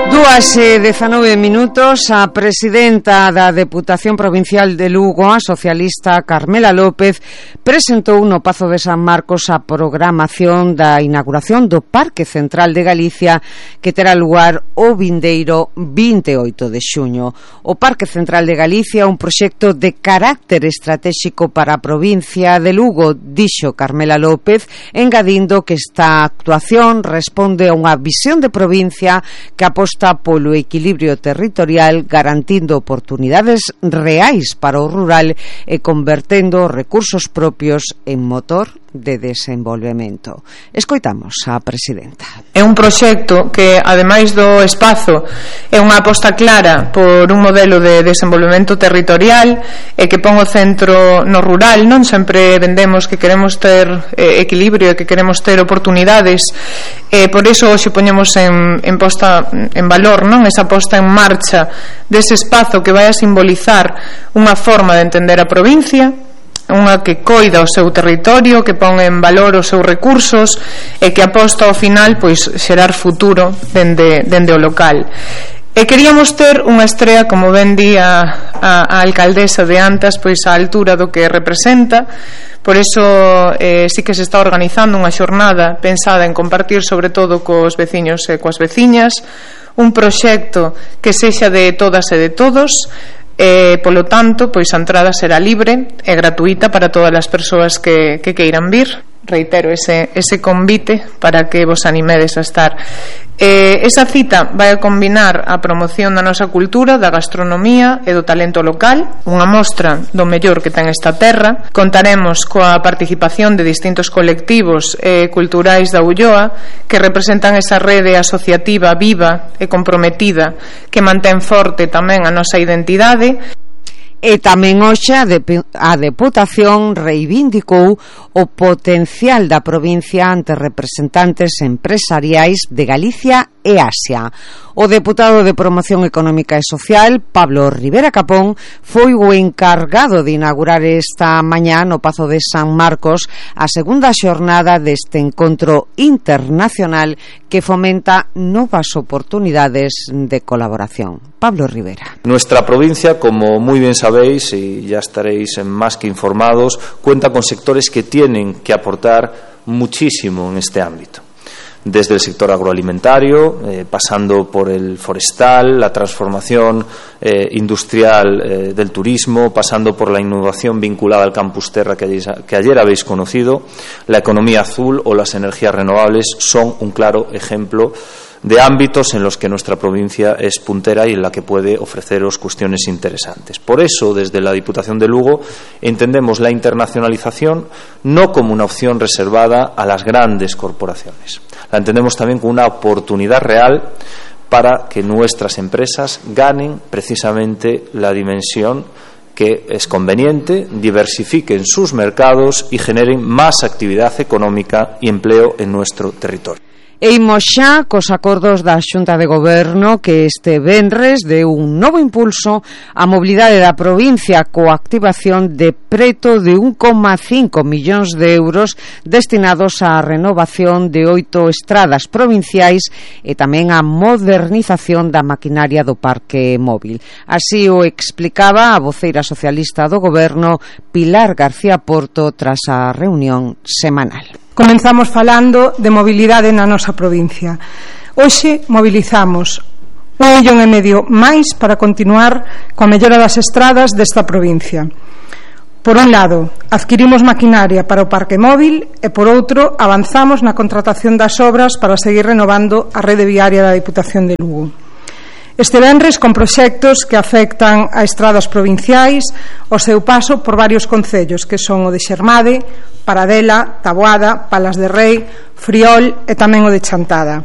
Dúas e dezanove minutos. A presidenta da Deputación Provincial de Lugo, a socialista Carmela López, presentou no Pazo de San Marcos a programación da inauguración do Parque Central de Galicia, que terá lugar o vindeiro vinte e oito de xuño. O Parque Central de Galicia é un proxecto de carácter estratégico para a provincia de Lugo, dixo Carmela López, engadindo que esta actuación responde a unha visión de provincia que aposta polo equilibrio territorial, garantindo oportunidades reais para o rural e convertendo os recursos propios en motor de desenvolvemento. Escoitamos a presidenta. É un proxecto que, ademais do espazo, é unha aposta clara por un modelo de desenvolvemento territorial e que pon o centro no rural. Non sempre vendemos que queremos ter eh, equilibrio e que queremos ter oportunidades, e por iso hoxe poñemos en, en posta en valor, non, esa posta en marcha dese espazo que vai a simbolizar unha forma de entender a provincia, unha que coida o seu territorio, que pon en valor os seus recursos e que aposta ao final pois xerar futuro dende, dende o local. E queríamos ter unha estrea, como ben di a, a, a alcaldesa de Antas, pois á altura do que representa. Por iso eh, sí que se está organizando unha xornada pensada en compartir sobre todo cos veciños e coas veciñas un proxecto que sexa de todas e de todos. E, polo tanto, pois a entrada será libre e gratuita para todas as persoas que, que queiran vir. Reitero ese, ese convite para que vos animedes a estar. Eh, esa cita vai a combinar a promoción da nosa cultura, da gastronomía e do talento local, unha mostra do mellor que ten esta terra. Contaremos coa participación de distintos colectivos eh, culturais da Ulloa que representan esa rede asociativa viva e comprometida que mantén forte tamén a nosa identidade. E tamén hoxe a, a Deputación reivindicou o potencial da provincia ante representantes empresariais de Galicia e Asia. O deputado de Promoción Económica e Social, Pablo Rivera Capón, foi o encargado de inaugurar esta mañá no Pazo de San Marcos a segunda xornada deste encontro internacional que fomenta novas oportunidades de colaboración. Pablo Rivera. Nuestra provincia, como muy bien sabéis y ya estaréis más que informados, cuenta con sectores que tienen que aportar muchísimo en este ámbito. desde el sector agroalimentario, eh, pasando por el forestal, la transformación eh, industrial eh, del turismo, pasando por la innovación vinculada al Campus Terra que ayer, que ayer habéis conocido, la economía azul o las energías renovables son un claro ejemplo de ámbitos en los que nuestra provincia es puntera y en la que puede ofreceros cuestiones interesantes. Por eso, desde la Diputación de Lugo, entendemos la internacionalización no como una opción reservada a las grandes corporaciones. La entendemos también como una oportunidad real para que nuestras empresas ganen precisamente la dimensión que es conveniente, diversifiquen sus mercados y generen más actividad económica y empleo en nuestro territorio. E imos xa cos acordos da Xunta de Goberno que este venres deu un novo impulso á mobilidade da provincia coa activación de preto de un coma cinco millóns de euros destinados á renovación de oito estradas provinciais e tamén á modernización da maquinaria do parque móvil. Así o explicaba a voceira socialista do Goberno, Pilar García Porto, tras a reunión semanal. Comenzamos falando de mobilidade na nosa provincia. Hoxe mobilizamos un millón e medio máis para continuar coa mellora das estradas desta provincia. Por un lado, adquirimos maquinaria para o parque móvil e por outro, avanzamos na contratación das obras para seguir renovando a rede viaria da Diputación de Lugo. Este venres con proxectos que afectan a estradas provinciais o seu paso por varios concellos que son o de Xermade, Paradela, Taboada, Palas de Rei, Friol e tamén o de Chantada.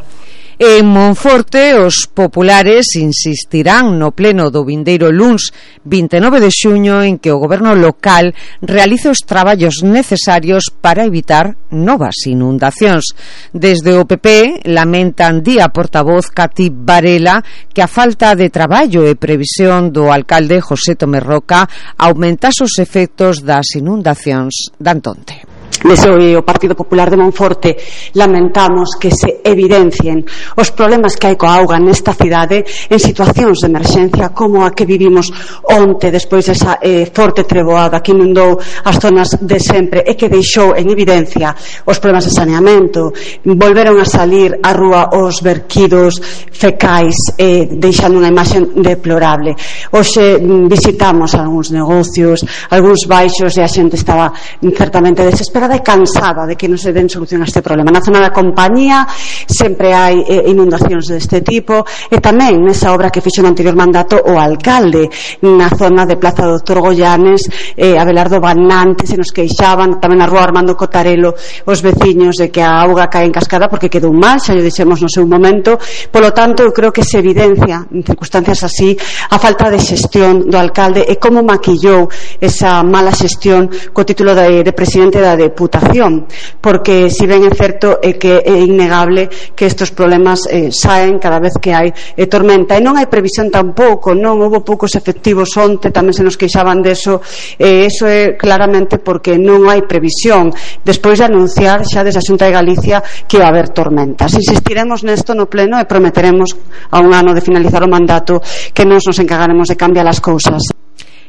En Monforte, os populares insistirán no pleno do vindeiro luns vinte e nove de xuño en que o goberno local realice os traballos necesarios para evitar novas inundacións. Desde o P P lamentan día portavoz Cati Varela que a falta de traballo e previsión do alcalde José Tomé Roca aumentase os efectos das inundacións da Antonte. Desde o Partido Popular de Monforte lamentamos que se evidencien os problemas que hai coa auga nesta cidade en situacións de emerxencia como a que vivimos onte despois desa eh, forte treboada que inundou as zonas de sempre e que deixou en evidencia os problemas de saneamento. Volveron a salir á rúa os verquidos fecais eh, deixando unha imaxe deplorable. Hoxe visitamos algúns negocios, algúns baixos e a xente estaba certamente desesperada e cansada de que non se den solución a este problema. Na zona da compañía sempre hai eh, inundacións deste tipo e tamén nesa obra que fixo no anterior mandato o alcalde na zona de Plaza Doctor Goyanes, eh, Abelardo Banante se nos queixaban, tamén na rúa Armando Cotarelo os veciños de que a auga cae en cascada porque quedou mal, xa lle dixemos no seu momento. Polo tanto, eu creo que se evidencia en circunstancias así a falta de xestión do alcalde e como maquillou esa mala xestión co título de, de presidente da Deputación, porque si ben é certo é que é innegable que estes problemas eh, saen cada vez que hai eh, tormenta e non hai previsión tampouco, non houve poucos efectivos onte, tamén se nos queixaban deso e eh, eso é claramente porque non hai previsión despois de anunciar xa desde a Xunta de Galicia que vai haber tormentas. Insistiremos nesto no pleno e prometeremos a un ano de finalizar o mandato que nos nos encargaremos de cambiar as cousas.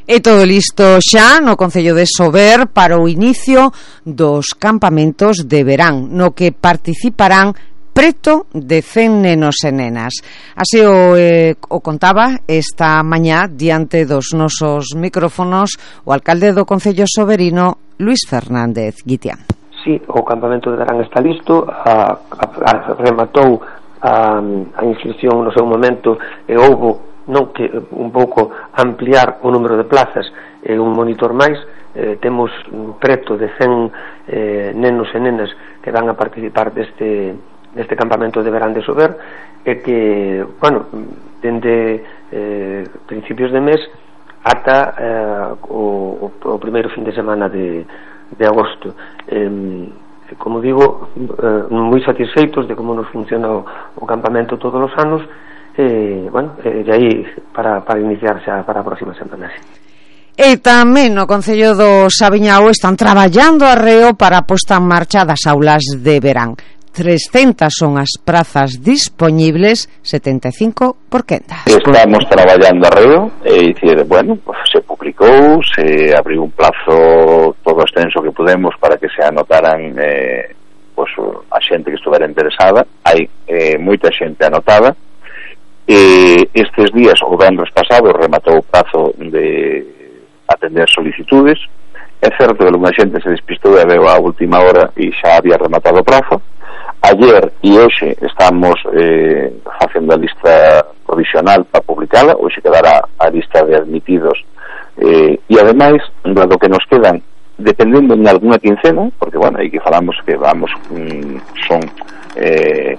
E todo listo xa no Concello de Sober para o inicio dos campamentos de verán, no que participarán preto de cen nenos e nenas. Así o, eh, o contaba esta mañá diante dos nosos micrófonos o alcalde do Concello Soberino, Luís Fernández Guitián. Sí, o campamento de verán está listo, a, a, a rematou a, a inscripción no seu momento e houbo non que un pouco ampliar o número de plazas e un monitor máis. Eh, temos preto de cen eh, nenos e nenas que van a participar deste, deste campamento de verán de Sober e que, bueno, dende eh, principios de mes ata eh, o, o primeiro fin de semana de, de agosto. Eh, como digo, eh, moi satisfeitos de como nos funciona o, o campamento todos os anos. E, bueno, e aí para, para iniciar xa para a próxima semana. E tamén no Concello do Sabiñao están traballando arreo para a posta en marcha das aulas de verán. trescentas son as prazas dispoñibles, setenta e cinco por quenda. Estamos traballando arreo, é dicir, bueno, pues se publicou, se abriu un plazo todo extenso que podemos para que se anotaran eh, pois, a xente que estuvera interesada. Hai eh, moita xente anotada. E estes días, o venres pasado, rematou o prazo de atender solicitudes. É certo que alguna xente se despistou e veo a última hora e xa había rematado o prazo. Ayer e hoxe estamos eh, facendo a lista provisional para publicala. Hoxe quedará a lista de admitidos, eh, e ademais, dado que nos quedan, dependendo en alguna quincena, porque, bueno, aí que falamos que vamos, mm, son eh,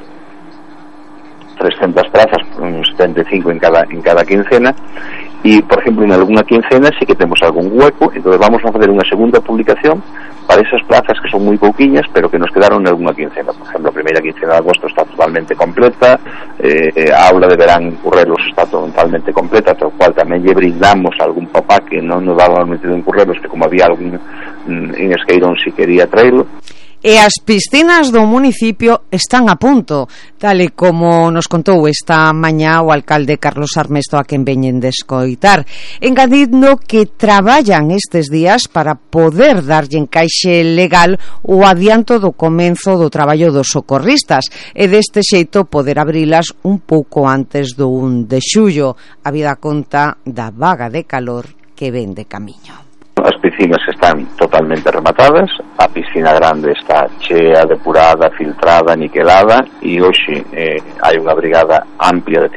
trescentas prazas, setenta e cinco en cada, en cada quincena, e, por exemplo, en alguna quincena sí que temos algún hueco, entonces vamos a facer unha segunda publicación para esas plazas que son moi pouquiñas, pero que nos quedaron en alguna quincena. Por exemplo, a primeira quincena de agosto está totalmente completa, eh, a aula de verán en Currelos está totalmente completa, tal cual tamén lle brindamos algún papá que non nos daba metido en Currelos, que como había algún en Esqueirón si quería traerlo. E as piscinas do municipio están a punto, tal e como nos contou esta mañá o alcalde Carlos Armesto, a quen veñen de escoitar, engadindo que traballan estes días para poder darlle encaixe legal o adianto do comenzo do traballo dos socorristas e deste xeito poder abrilas un pouco antes do un de xullo, a vida conta da vaga de calor que ven de camiño. As piscinas están totalmente rematadas, a piscina grande está chea, depurada, filtrada, niquelada, e hoxe eh, hai unha brigada amplia de